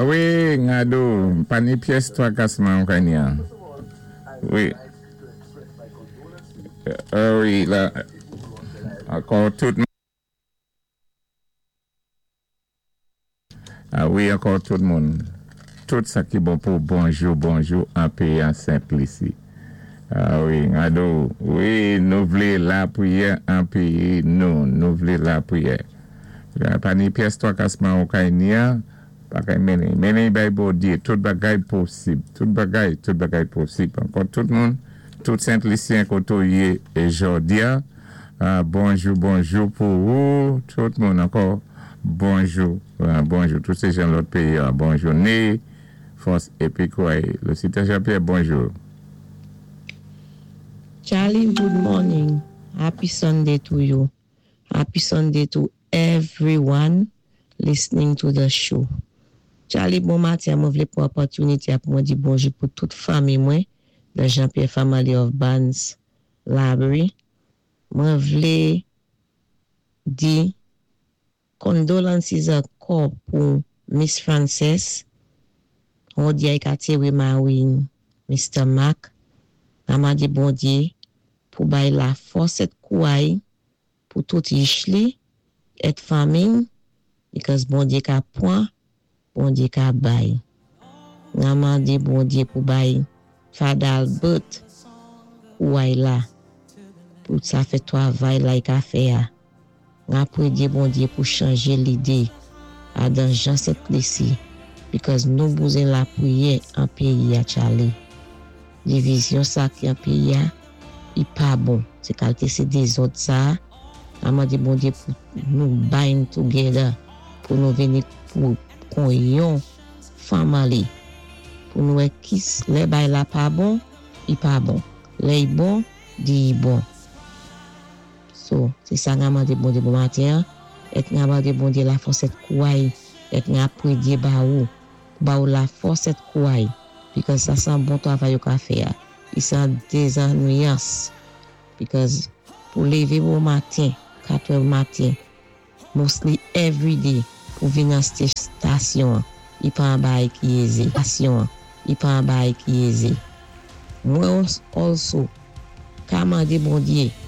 Wi, Ngado, pa ni pyès twakasman kanya. Wi. Wi, la, ankò tout. A wi, ankò tout moun. Tout sa ki bon pou bonjou, bonjou an péyi an Sent Lisi. A wi, Ngado, wi, nou vlé lapriyè an péyi nou, nou vlé lapriyè. Pa ni pyès twakasman ou kay niya, pa kay mennen. Mennen bay Bondyé, tout bagay posib. Tout bagay posib. Ankò tout moun, tout Sent Lisyen koto yé é jòdi-a. Bonjou, bonjou pou ou, tout moun ankò. Bonjou, bonjou. Tout sé jan lòt péyi, bonjou. Né, fòs épi kouway. Lucita Jean-Pierre, bonjou. Charlie, good morning. Happy Sunday to you. Happy Sunday to everyone listening to the show. Charlie, bon maten. Mwen vlé pwan opòtinité pou mwen di bonjou pou tout fanmi mwen, the Jean-Pierre family of Barnes Library. Mwen vlé di condolences ankò pou Miss Frances, Bondye ka téwé mari Mr. Mac, n ap mandé Bondyé pou bay lafòs èt kouway pou tout yich li èt fanmi, because Bondyé ka pwan, Bondyé ka bay. N ap mandé Bondyé pou bay Father Albert kouway la pou sa fè twavay la i ka fè a. N ap pwédyé Bondyé pou chanjé lidé adan jan Sent Lisi, because nou bouzen lapriyè an péyi a, Charlie. Divizyon sa ki an péyi a, i pa bon. Sé kalité sé dézòd sa, n ap mandé Bondyé pou nou bind together, pou nou vini pou kon yon family, pou nou wè kis lè bay la pa bon, i pa bon. Lè i bon, di i bon. So, sé sa n ap mandé Bondyé bon maten, èt n ap mandé Bondyé lafòs èt kouway, èt n ap pwédyé ba ou, ba ou lafòs èt kouway, because sa san bon twavay yo ka fè a. I san dézannwiyans, because pou lévé bon maten, 4 maten, mostly every day, pou vin nan stasyon, i pa an bay ki ézé. Stasyon, i pa an bay ki ézé. Mwen also, ka mandé Bondyé,